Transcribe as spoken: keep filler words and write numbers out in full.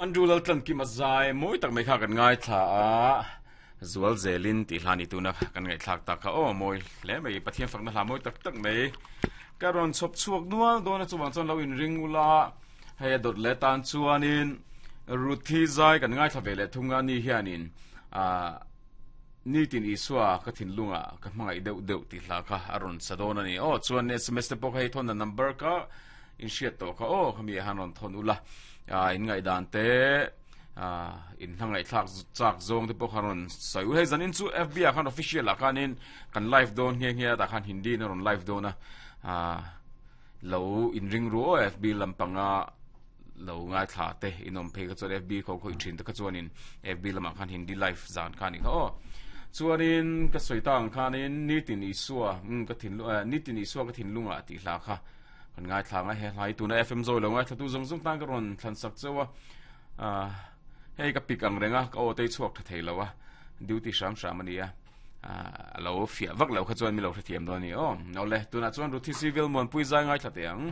Andrew Laltlankima zai mawi tak mai kha kan ngaithla a, Zual zelin tih hla ni tuna kan ngaihthlak tak kha aw mawi hle mai, Pathian fakna hla mawi tak tak mai ka rawn chhawp chhuak nual dawn a, chuvang chuan lo inring ula, hei a dawt leh tan chuanin Ruthi zai kan ngaithla ve leh thung a, ni hianin ah Nitin Isua ka thinlungah ka hmangaih deuh deuh tih hla kha a rawn sa dawn a ni. Aw chuan S M S te pawh kha hei thawnna number ka inhriat tawh kha aw khami ah han rawn thawn ula, in ngaihdan te in hla ngaihthlak chak zawng te pawh kha rawn sawi ul. Hei zanin chu F B ah khan official ah khanin kan live dawn nghe nghe a, tah khan Hindi in a rawn live dawn a, lo inring ru aw F B lampanga lo ngaithla te in awm phei kha chuan F B kho khawih thin te kha chuanin F B lamah khan Hindi live zan kha a nih kha aw. Chuanin ka sawi ta ang khanin Nitin Isua ka thinlung Nitin Isua ka thinlungah tih hla kha kan ngaithla ang a, he hla hi tuna F M Zawi lo ngaithlatu zawng zawng tan ka rawn thlan sak chauh a, ah hei ka pik ang reng a, ka aw te hi chhuak tha thei lo a, duty hram hram a ni a, ah a lo fiah vak lo kha chuan mi lo hrethiam dawn a ni aw. Awle, tunah chuan Ruthi Civil Muanpui zai ngaithla teh ang.